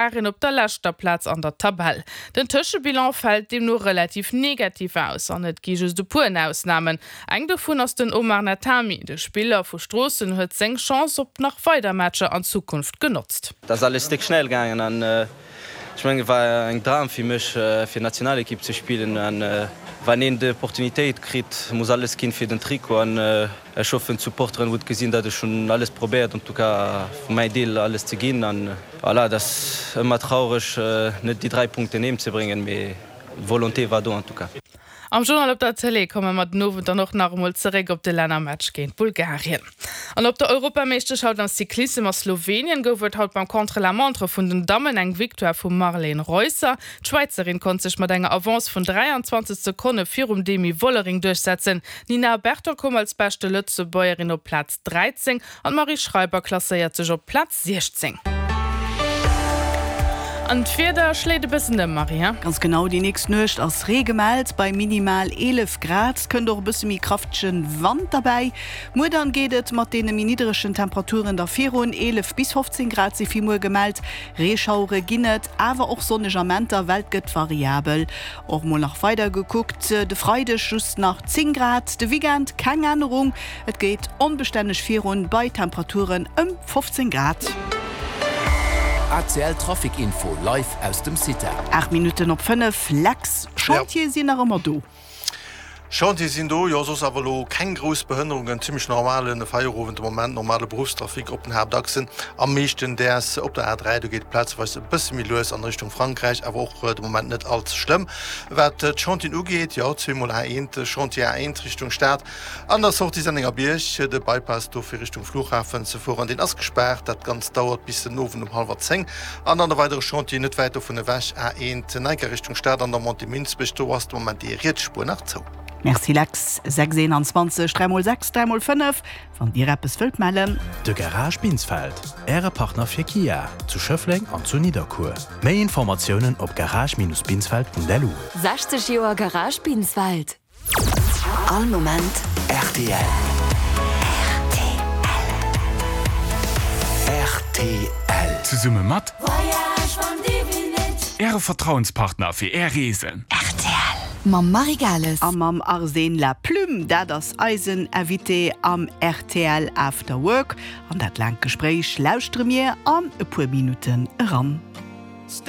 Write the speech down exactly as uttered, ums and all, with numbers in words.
Bulgarien op der leschter Plaz an der Tabell. Den Tëschebilan fält deemno relativ negativ aus an et gi just e puer Ausnamen. Eng dovun ass den Omar Natami. De Spiller vu Stroossen huet seng Chance op nach weider Matcher an Zukunft genotzt. Et ass alles déck schnell gaangen an ech mengen et war eng Dram fir mech fir Nationalekipp ze spillen an wann een d'Opportunitéit kritt muss alles ginn fir den Trikot an ech hoffen d'Supporteren hutt gesinn datt ech hunn alles probéiert en tout cas vu mäin Deel alles ze ginn an voilà et ass ëmmer traureg net déi dräi Punkten heem ze bréngen mee d'Volonté war do en tout cas. Am Journal op der Tëlee komme mer den Owend dann och nach emol zeréck op de Lännermatch géint Bulgarien. An op der Europameeschterschaft am Cyclissem a Slowenien gouf et haut beim Contre-la-montre vun den Dammen eng Victoire vum Marlene Reusser. D'Schwäizerin konnt sech mat enger Avance vun dräianzwanzeg Sekonne virum Demi Vollering duerchsetzen. D'Nina Berton koum als beschte Lëtzebuergerin op Plaz dräizéng an d'Marie Schreiber klasséiert sech op Plaz siechzéng. An d'Wieder schléit e bëssen ëm, Marie, he? Ganz genau, déi nächst Nuecht ass Ree gemellt bei minimal eelef Grad. Et kënnt och e bësse méi kraftege Wand derbäi. Muer dann geet et mat deene méi nidderegen Temperaturen da virun, eelef bis fofzéng Grad si fir muer gemellt. Reeschauere ginn et, awer och sonneg Amenter, well et gëtt variabel. Och mol nach weider gekuckt, de Freideg just nach zéng Grad, de Weekend keng Ännerung, et geet onbestänneg virun bei Temperaturen ëm fofzéng Grad. A C L Trafic Info live aus dem CITA. Aacht Minutten op fënnef, Lex, Chantiere sinn nach ëmmer do. Chantiere sinn do, jo, soss awer elo keng grouss Behënnerungen, zimmlech normale Feierowend de Moment, normale Beruffstrafic op den Haaptachsen, am meeschten däers op der A dräi, do geet et plazeweis e bësse méi lues an Richtung Frankräich, awer och de Moment net all ze schlëmm. Wat d'Chantieren ugeet, jo, zweemol A eent, Chantier A eent Richtung Stad an der Sortie Sennengerbierg, de Bypass do fir Richtung Flughafen ze fueren, deen ass gespaart, dat Ganzt dauert bis den Owend um hallwer zéng. An dann e weidere Chantier net wäit dovun ewech, A eent Neiker Richtung Stad an der Montée Minsbech, do ass de Moment déi riets Spuer nach zou. Merci Lex. Sechs eenanzwanzeg, dräi mol sechs, dräi mol fënnef, wann Dir eppes wëllt mellen. De Garage Binsfeld, Äre Partner fir Kia, zu Schëffleng an zu Nidderkuer. Méi Informatiounen op garage-binsfeld.lu. Sechzeg Joer Garage Binsfeld. All Moment rtl. Rtl. Zesumme mat Äre Vertrauenspartner fir Är Reesen. Rtl mam Marie Gales. A mam Arsène Laplume, dat ass eisen Invité am rtl After Work. An dat laangt Gespréich lauschtere mir an e puer Minutten eran.